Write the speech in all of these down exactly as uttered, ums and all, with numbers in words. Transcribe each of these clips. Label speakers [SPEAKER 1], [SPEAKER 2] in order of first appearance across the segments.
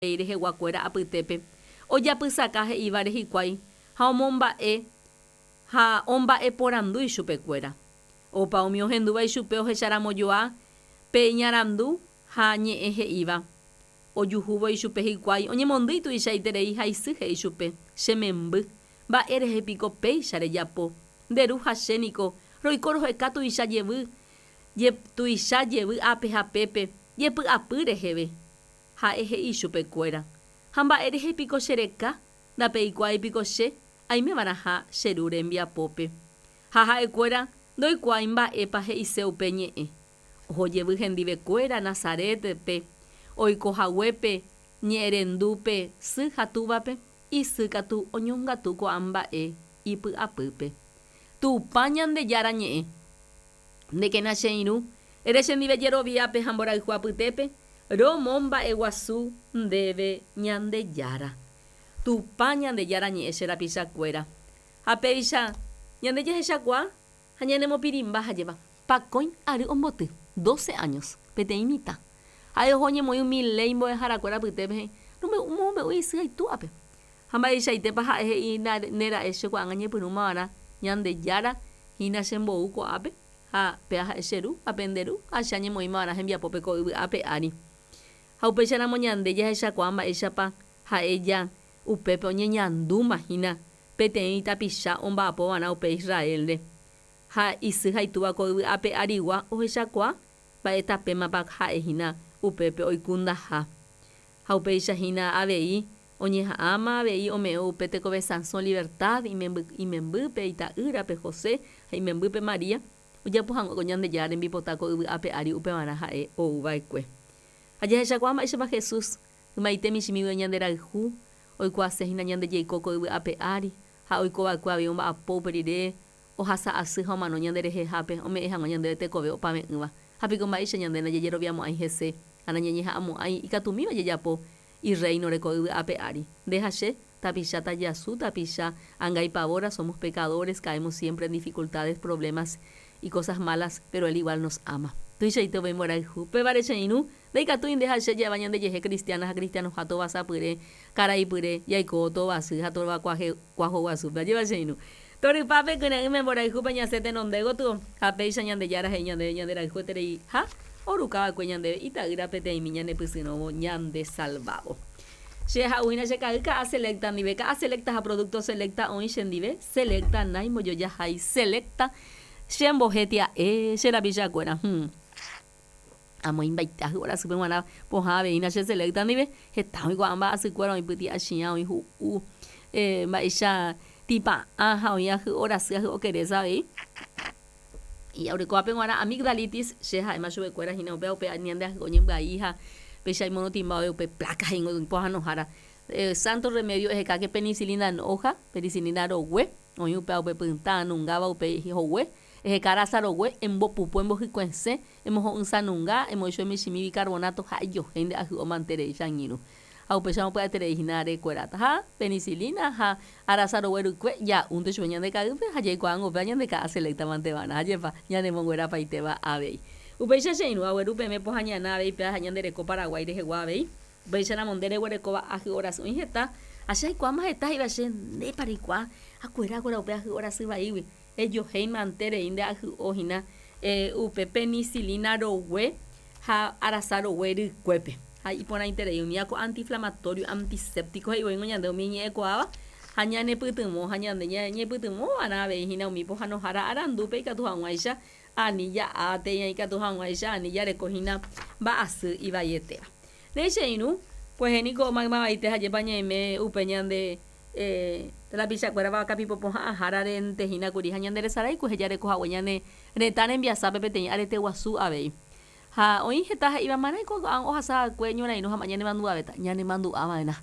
[SPEAKER 1] Reheguakuéra apytépe ojapysaka he'ívare hikuái ha omomba'e ha omba'eporandu ichupekuéra. Opa umi ohendúva ichupe ohecharamojoa pe iñarandu ha ñe'ẽ he'íva. Ojuhúvo ichupe hikuái oñemondýi tuichaiterei ha isy he'i chupe, Che memby, mba'e rehe piko péicha rejapo, nde ru ha che niko roiko roheka tuicha jevy, tuicha jevy ápe ha pépe, jepy'apy reheve. Ha'e he'i ichupekuéra, Ha mba'e rehe piko che reka, ndapeikuaái piko che aimeva'erãha che ru rembiapópe. Ha ha'ekuéra ndoikuaái mba'épa he'ise upe ñe'ẽ. Oho jevy hendivekuéra Nazaret-pe, oiko haguépe ñe'ẽrendúpe sy ha túvape, isy katu oñongatu ko'ã mba'e ipy'apýpe. Tupã Ñandejára ñe'ẽ. Ndékena che irũ, ere chendive jeroviápe ha mborayhu apytépe, Romomba'eguasu ndéve Ñandejára. Tupã Ñandejára ñe'ẽ che rapichakuéra. Ha péicha ñande jahechakuaa ha ñanemopirĩmba ha jeva. Pakõi ary omboty, doce años, peteĩ mitã. Ha'e oho oñemoĩ umi léi mbo'eharakuéra apytépe he'i, Romombe'u isy ha itúape. Ha mba'eichaitépa ha'e he'i nera'e che ko'ág̃a ñepyrũmava'erã Ñandejára hína chembou ko'ápe ha péa ha'e che ru ha pende ru ha che añemoĩmava'erã hembiapópe ko yvy ape ári. Ha upéicharamo ñande jahechakuaa mba'éichapa ha'e ja upépe oñeñandúma hína peteĩ tapicha omba'apova'erã upe Israel-re. Ha isy ha itúva ko yvy ape arigua ohechakuaa mba'e tapémapa ha'e hína upépe oikundaha. Ha upéicha hína avei oñeha'ãma avei ome'ẽ upe tekove sãso libertad imemby imembýpe ita'ýrape José ha imembýpe María ojapo hag̃ua ko Ñandejára rembipota ko yvy ape ári upevarã ha'e ouva'ekue. Ha jahechakuaa mba'éichapa Jesús ymaite michĩmígui ñanderayhu oikuaase hína ñande jaiko ko yvy ape ári ha oikova'ekue avei omba'apo upe rire ohasa asy ha omano ñanderehehápe ome'ẽ hag̃ua ñandéve tekove opave'ỹva. Ha piko mba'éicha ñande ndajajeroviamo'ãi hese ha nañañeha'ãmo'ãi ikatumíva jajapo irréinore ko yvy ape ári. Nde ha che, tapicha tajasu, tapicha angaipavóra, somos pecadores, caemos siempre en dificultades, problemas y cosas malas, pero él igual nos ama. Tuichaite upe mborayhu. Upévare che irũ, ndaikatúi nde ha che ja'éva ñandejehe cristiana ha cristianoha tovasapyre, karaipyre, jaiko tovasy ha tovakuahoguasúpe. Ajépa che irũ. Torypápe kyre'ỹme mborayhúpe ñasẽ tenonde gotyo, ha péicha Ñandejára he'i ñandéve ñanderayhuetereiha orukava'ekue ñandéve ita'ýra peteĩmi ñanepysyrõvo ñandesalvávo. Che ha'uhína che ka'y ka'a Selecta ndive, ka'a Selecta ha producto Selecta oĩ chendive, Selecta naimbojojahái, Selecta chembohetia'e che rapichakuéra. Hum. Amoĩmbaite ahy'o rasýpe g̃uarã pohã aveína che Selecta ndive, heta oĩ ko'ã mba'asykuéra oĩ pyti'achiã, oĩ hu'u, eh, mba'éicha tĩpa'ã ha oĩ ahy'o rasy ahy'o keresa avei. Orekóvape g̃uarã amigdalitis, che ha'éma chupekuéra hína upéva upe ñande ahy'o ñembyai ha péicha imorotĩmba ove upe placa he'ingo pohãnohára. Santo remedio ehekáke penicilina en hoja, penicilina rogue, oĩ upéva upe pytã nungáva upe hogue, eheka rasa rogue, embopupu embohykuesẽ, emoho'ysãnunga, emoĩ michĩmi bicarbonato ha ejohéi nde ahy'o manterei che angirũ. Ha upéicha pya'eterei hína rekueráta. Ha penicilina ha arasa rogue rykue ja'únte chupe ñande ka'ýpe ha jaikuaángo upéva ñande ka'a Selecta manteva'erã. Ajépa ñanemonguerapaitéva avei. Upéicha che irũ agueru peẽme pohã ñana avei péva ha ñande reko Paraguái rehegua avei. Upéicharamo nde reguerekóva ahy'o rasy oĩ heta ha che aikuaáma heta he'íva che ndépa reikuaa akuerákuera upe ahy'o rasy vaígui. Ejohéi manterei nde ahy'o hína upe penicilina rogue ha arasa rogue rykuépe. Ha iporãiterei umi ako antiinflamatorio, antiséptico he'ivoíngo ñande umi ñe'ẽkuaáva ha ñanepytyvõ ha ñande ñañepytyvõva'erã avei hína umi pohãnohára arandúpe ikatu hag̃uáicha ani ja'a térã ikatu hag̃uáicha ani jareko hína mba'asy ivaietéva. Néi che irũ, kuehe niko maymavaite hajépa ñaime upe ñande eh, rapichakuéra vakapipopoha'ãhárarente hína kuri ha ñanderesarái kuehe jareko hague ñane retã rembiasápe peteĩ arete guasu avei. Ha oĩ heta he'íva marãiko ohasava'ekue ñorairõ ha ñanemandu'avéta, ñanemandu'ava'erã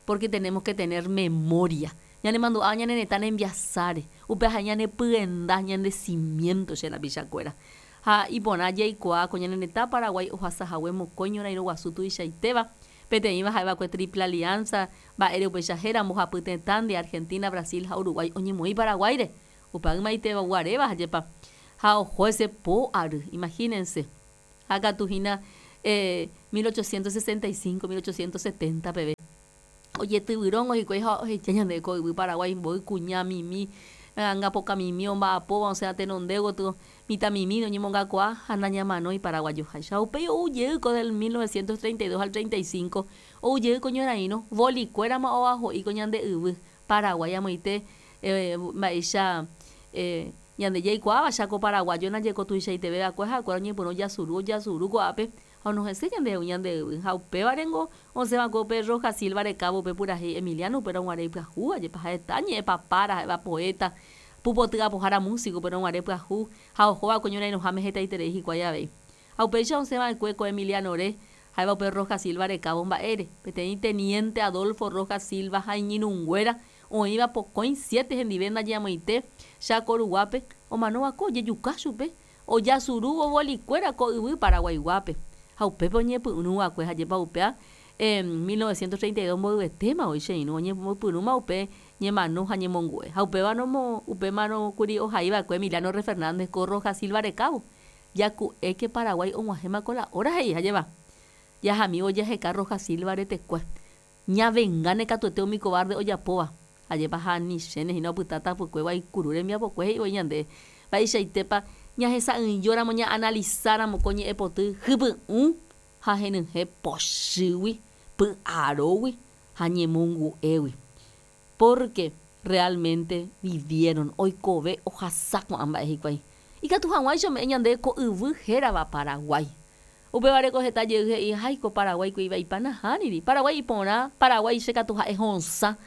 [SPEAKER 1] porque tenemos que tener memoria. Ñanemandu'a ñane retã rembiasáre, upe ha'e ñanepyenda, ñande cimiento che rapichakuéra. Ha iporã jaikuaa ko ñane retã Paraguái ohasahague mokõi ñorairõ guasu tuichaitéva, peteĩva ha'eva'ekue Triple Alianza, mba'ére upéicha héra mbohapy tetã de Argentina, Brasil ha Uruguay oñemoĩ Paraguáire. Upe ymaitéva guaréva hajépa. Ha oho ese po ary, imagínense. Ha katu hína eh, mil ochocientos sesenta y cinco, mil ochocientos setenta peve. Ojetyvyróngo hikuái ha ohecha ñande ko yvy Paraguái mboy kuña mimi, angapoka mimi omba'apóva osẽ tenonde gotyo mitãmimi oñemongakuaa ha nañamanói paraguayoháicha. Upéi oujey ko del mil novecientos treinta y dos al treinta y cinco oujey ko ñorairõ bolikuérama oaho'i ko ñande yvy Paraguái amoite, eh, mba'éicha, eh, ñande jaikuaáva Chaco paraguayo najeko tuichaiteve va'ekue ha'ekuéra oñepyrũ jasuru ojasuru ko'ápe ha onohẽse ñandehegui ñande yvy ha upévarengo osẽva'ekue upe Rojas Silva rekávo upe purahéi Emiliano upérõ guare ipyahúva jepa ha'eta ñe'ẽpapára ha'éva poeta pupoty apohára músico upérõ guare pyahu ha ohóva'ekue ñorairõháme hetaiterei hikuái avei. Ha upéicha osẽva'ekue ko Emilianore ha'éva upe Rojas Silva rekávo mba'ére peteĩ teniente Adolfo Rojas Silva ha iñirũnguéra oĩva pokõi siete hendive ndaje amoite Chaco ruguápe omanóva'ekue ojejuka chupe ojasurúvo bolikuéra ko yvy Paraguaiguápe ha upépe oñepyrũva'ekue hajépa upéa, eh, mil novecientos treinta y dos mboyvetéma oĩ che irũ oñepyrũma upe ñemano ha ñemongu'e ha upéva upémarõ kuri ohaiva'ekue Emiliano R. Fernández ko Rojas Silva rekávo jaku'éke Paraguái og̃uahẽma ko la hora he'i hajéva jahami ojeheka Rojas Silva retekue ñavengáne katuete umi cobarde ojapóva hajépa ha nichéne hína opyta tapykue guaikuru rembiapokue he'i voi ñande mba'eichaitépa ñahesa'ỹijóramo ñaanalizáramo ko ñe'ẽpoty hypy'ũ ha henyhẽ pochýgui py'arógui ha ñemongu'égui porque realmente vivieron oikove ohasa ko'ã mba'e hikuái ikatu hag̃uáicha ome'ẽ ñande ko yvy hérava Paraguái upévare ko heta jey he'i háiko Paraguái ku ivaipa nahániri Paraguái iporã Paraguái che katu ha'e hosã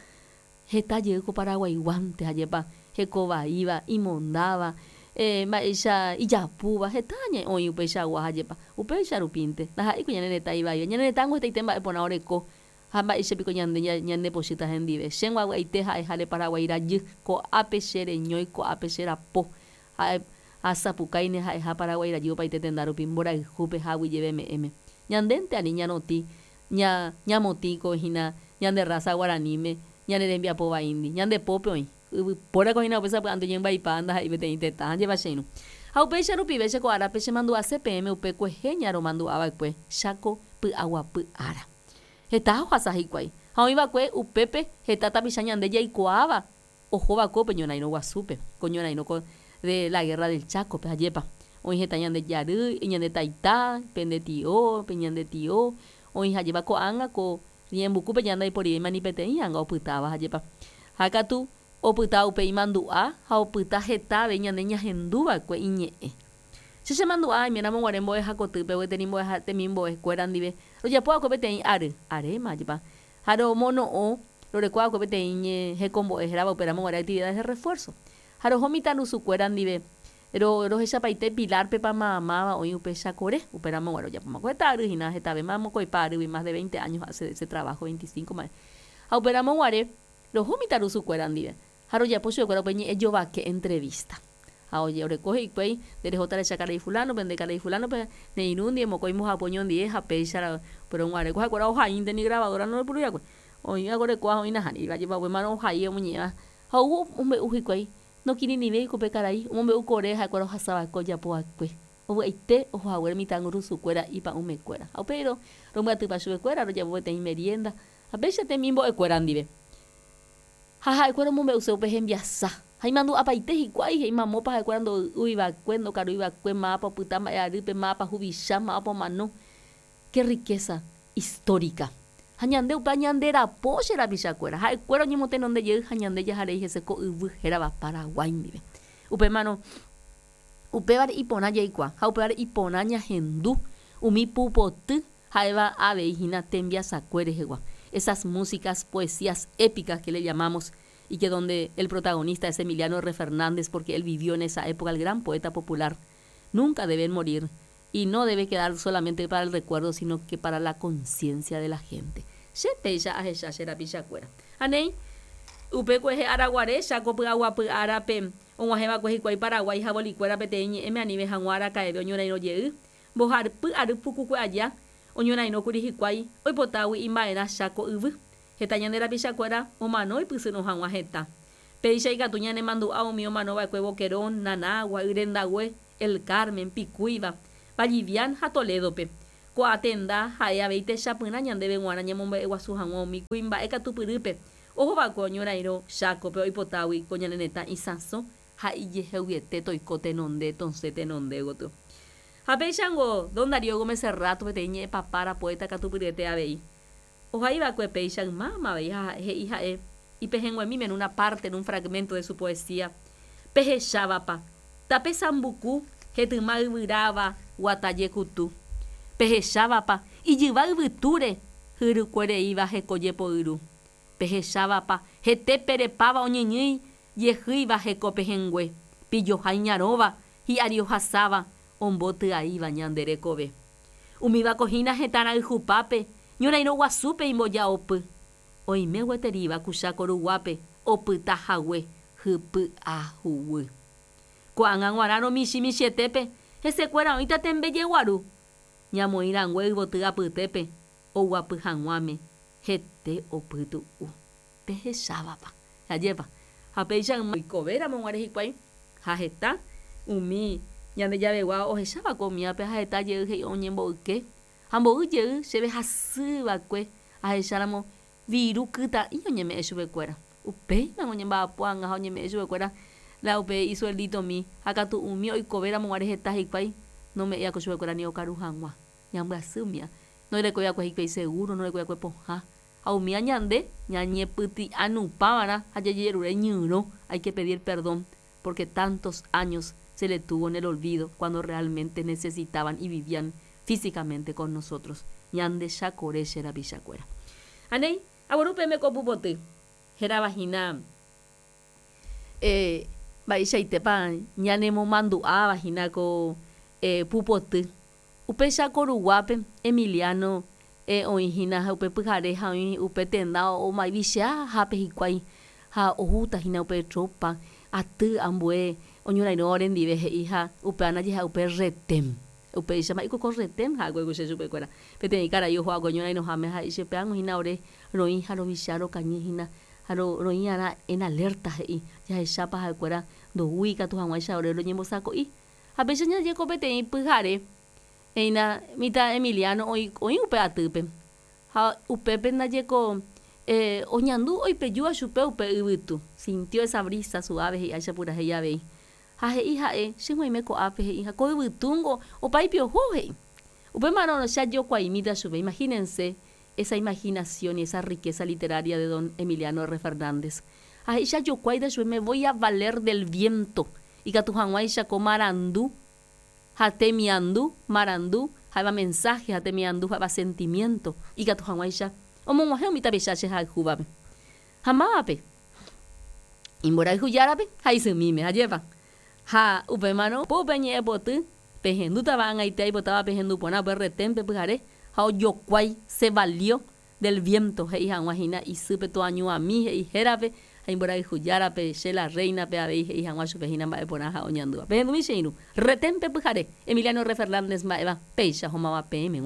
[SPEAKER 1] heta jey ko paraguaiguánte hajépa hekovaíva imondáva, eh, mba'éicha ijapúva heta oĩ upeichagua hajépa upéicha rupínte ndaha'éiko ñane retã ivaíva ñane retãngo hetaite mba'e porã oreko ha mba'éichapiko ñande ñandepochýta hendive chéngo avy'aite ha'eháre Paraguái rajy ko'ápe che reñói ko'ápe che rapo ha'e asapukáine ha'eha Paraguái rajy opaite tenda rupi mborayhúpe ha aguyjeveme'ẽme ñandénte ani ñarotĩ ña ñamotĩko hína ñande raza guaraníme ñane rembiapo vaíndi ñande pópe oĩ yvypórako hína upe sapy'ánte oñembaipa ndaha'éi peteĩ tetã jeva che irũ ha upéicha rupive che ko árape chemandu'ase peẽme upe kuehe ñaromandu'ava'ekue Chaco py'aguapy ára heta ohasa hikuái ha oĩva'ekue upépe heta tapicha ñande jaikuaáva ohóva'ekue upe ñorairõ guasúpe ko ñorairõ ko de la guerra del Chaco-pe hajépa oĩ heta ñande jarýi ñande taita pende tio pe ñande tio oĩ hajépa ko'ág̃a ko ñembukúpe ñande ndaiporivéima ni peteĩ anga opytáva hajépa ha katu opyta upe imandu'a ha opyta heta avei ñande ñahendúva'ekue iñe'ẽ che chemandu'a aiméramo guare mbo'ehakotýpe gueteri mbo'eha temimbo'ekuéra ndive rojapova'ekue peteĩ ary aréma hajépa ha romono'õ rorekova'ekue peteĩ ñe hekombo'e hérava upéramo guare actividades de refuerzo ha roho mitãrusukuéra ndive ro rohechapaite Pilarpepa mamáva oĩ upe Chakore upéramo guare ojapóma heta ary hína hetavéma mokõipa arýgui más de veinte años hace ese trabajo veinticinco mba'e ha upéramo guare roho mitãrusukuéra ndive ha rojapo chupekuéra upe ñe'ẽ jovake entrevista ha oje oreko hikuái nderehóta recha karai fulano-pe nde karai fulano-pe neirũ ndie mokõi mbohapy oñondive ha péicha upérõ guare ha'ekuéra ohaínte ni grabadora ndoipurúiakue oĩva orekóva oĩ nahániri jepa upémarõ ohai omoñe'ẽva ha ou omombe'u hikuái nokirirĩvéi upe karai omombe'u kore ha'ekuéra ohasava'ekue ojapova'ekue ovy'aite ohohaguére mitãrusukuéra ipa'ũmekuéra ha upéi rombyatypa chupekuéra rojapo peteĩ merienda ha péicha temimbo'ekuéra ndive ha ha'ekuéra omombe'use upe hembiasa ha imandu'apaite hikuái he'i mamópa ha'ekuéra ndoy'uiva'ekue ndokaruiva'ekue mápa opyta mba'e arýpe mápa huvicha mápa omano qué riqueza histórica ha ñande upe ñande rapo che rapichakuéra ha'ekuéra oñemotenonde jey ha ñande jaharei hese ko yvy hérava Paraguái ndive upémarõ upévare iporã jaikuaa ha upévare iporã ñahendu umi pupoty ha'éva avei hína tembiasakue rehegua esas músicas, poesías épicas que le llamamos y que donde el protagonista es Emiliano R. Fernández porque él vivió en esa época, el gran poeta popular, nunca deben morir y no debe quedar solamente para el recuerdo, sino que para la conciencia de la gente. Che péicha ahecha che rapichakuéra. Anei, upe kuehe araguare Chaco py'aguapy árape og̃uahẽva'ekue hikuái Paraguái ha bolikuéra peteĩ ñe'ẽme anive hag̃ua araka'eve oñorairõ jey mbohapy ary pukukue aja oñorairõkuri hikuái oipotágui imba'erã Chaco yvy heta ñande rapichakuéra omano oipysyrõ hag̃ua heta péicha ikatu ñanemandu'a umi omanova'ekue Boquerón, Nanagua, Yrendague, El Carmen, Picuiba, Vallivian ha Toledo-pe. Ko'ã tenda ha'e avei techapyrã ñandéve g̃uarã ñamomba'eguasu hag̃ua umi kuimba'e katupyrýpe ohova'ekue oñorairõ Chákope oipotágui ko ñane retã isãso ha ijeheguiete toiko tenonde tosẽ tenonde gotyo. Ha péichango don Darío Gómez Serrato peteĩ ñe'ẽpapára poeta katupyryete avei. Ohaiva'ekue péicha ymáma avei ha he'i ha'e ipehẽnguemíme en una parte, en un fragmento de su poesía, Pehechávapa, tape sambuku hetyma yvyráva guata jekutu. Pehechávapa, ijyva yvytúre hyrukuereíva heko jepoyru. Pehechávapa, hete perepáva oñyñýi jehýiva heko pehẽngue, pijoha iñarõva, hi'ári ohasáva, ombotyaiva ñande rekove. Umívako hína hetã rayhupápe, ñorairõ guasúpe imboja'opy. Oime gueteríva ku Cháko ruguápe opyta hague hypy'a huguy. Ko'ág̃a g̃uarãrõ michĩ michĩetépe hesekuéra oĩta tembe jeguaru, ñamoĩ rangue yvoty apytépe oguapy hag̃uáme hete opytu'u. Pehechávapa. Ajépa. Ha péicha yma oikovéramo guare hikuái ha heta umi ñande javegua ohecháva'ekue umívape ha heta jey he'i oñemboyke ha mboy jey chéve hasýva'ekue ahecháramo viru kytã'i oñeme'ẽ chupekuéra. Upéima oñemba'apo ág̃a ha oñeme'ẽ chupekuéra la upe isuelditomi ha katu umi oikovéramo guare heta hikuái nome'ẽi'akue chupekuéra ni okaru hag̃ua. Ñambyasy umíva. Ndorekoi'akue hikuái seguro, ndorekoi'akue pohã. Ha umíva ñande ñañepyti'anupãva'erã ha jajerure ñyrõ hay que pedir perdón porque tantos años se le tuvo en el olvido cuando realmente necesitaban y vivían físicamente con nosotros. Ñande chakore che rapichakuéra. Ha néi, agueru peẽme ko pupoty hérava hína eh, mba'eichaitépa ñanemomandu'áva hína ko eh, pupoty. Upe Cháko ruguápe Emiliano eh, oĩ hína ha upe pyhare ha oĩ upe tenda omaivicheahápe hikuái ha ohúta hína upe tropa aty ambue oñorairõ orendive he'i ha upéva ndaje upe retén. Upéicha mba'éiko ko retén ha'ekue che chupekuéra. Peteĩ karai oho'akue oñorairõháme ha he'i chupe ág̃a hína ore roĩ ha rovicha rokañy hína ha roĩ'arã en alerta he'i jahechápa ha'ekuéra ndoúi ikatu hag̃uáicha ore roñembosako'i. Ha péicha ñajeko peteĩ pyhare he'ína mitã Emiliano oĩ oĩ upe atýpe ha upépe ndajeko eh, oñandu oipejúva chupe upe yvytu. Sintió esa brisa suave he'iháicha purahéi avei. Ha he'i ha'e che ko'ápe he'i ha ko yvytúngo opáipi oho he'i. Upémarõ che ajokuaimíta chupe. Imagínense esa imaginación y esa riqueza literaria de don Emiliano R. Fernández. Ha he'i che ajokuáita chupe me voy a valer del viento ikatu hag̃uáicha ko marandu ha temiandu, marandu ha'éva mensaje ha temiandu ha'éva sentimiento ikatu hag̃uáicha omog̃uahẽ umi tapicha che hayhúvape. Ha mávape imborayhujárape ha isymíme ajépa. Ha upémarõ upe ñe'ẽpoty pehendútava ag̃aite aipotáva pehendu porã upe reténpe pyhare ha ojokuái se valió del viento he'i hag̃ua hína isýpe toañuãmi he'i hérape ha imborayhujárape che la reina-pe avei he'i hag̃ua chupe hína mba'eporã ha oñandúva. Pehendumi che irũ reténpe pyhare Emiliano R. Fernández mba'éva péicha homáva peẽme.